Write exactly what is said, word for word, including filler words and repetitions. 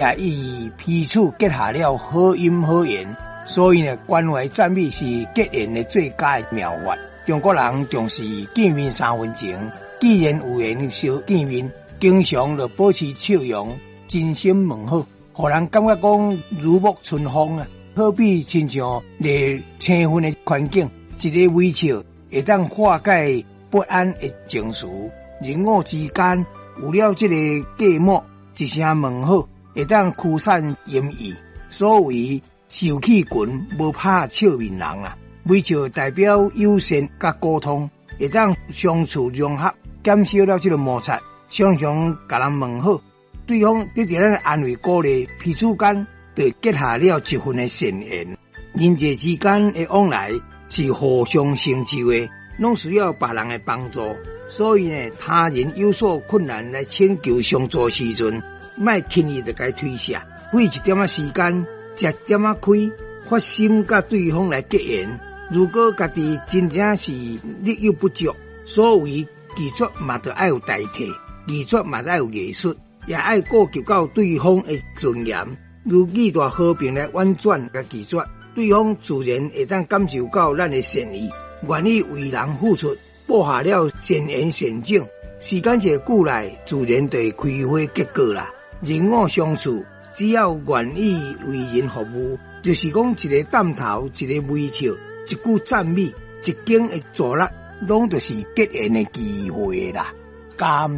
也與彼此結下了好姻好緣。所以呢，關懷讚美是結緣的最佳妙法。中國人重視見面三分情，既然有緣相見面，經常就保持笑容，真心問好，予人感覺講如沐春風啊！好比親像熱青昏的環境，一个微笑會當化解不安的情緒。人我之間有了這个隔膜，一聲問好，會當驅散陰翳。所謂受氣群，無拍笑面人啊！微笑代表友善佮溝通，會當相處融合，減少了這个摩擦。常常共人問好，對方得著咱的安慰鼓勵，彼此間就結下了一份的善緣。人際之間的往來是互相成就的，攏需要別人的幫助。所以呢，他人有所困難來請求相助時陣，莫輕易就共推卸，花一點仔時間，食點仔虧，發心佮對方來結緣。如果家己真正是力有不足，所謂拒絕嘛，著愛有大體，拒絕嘛愛有藝術，也愛顧及到對方的尊嚴。如語帶和平來婉轉共拒絕，對方自然會當感受到咱的善意，願意為人付出，布下了善緣善種。時間一久來，自然就會開花結果啦。人我相處，只要願意為人服務，就是講一个點頭，一个微笑，一句讚美，一間的助力，攏就是結緣的機會啦。感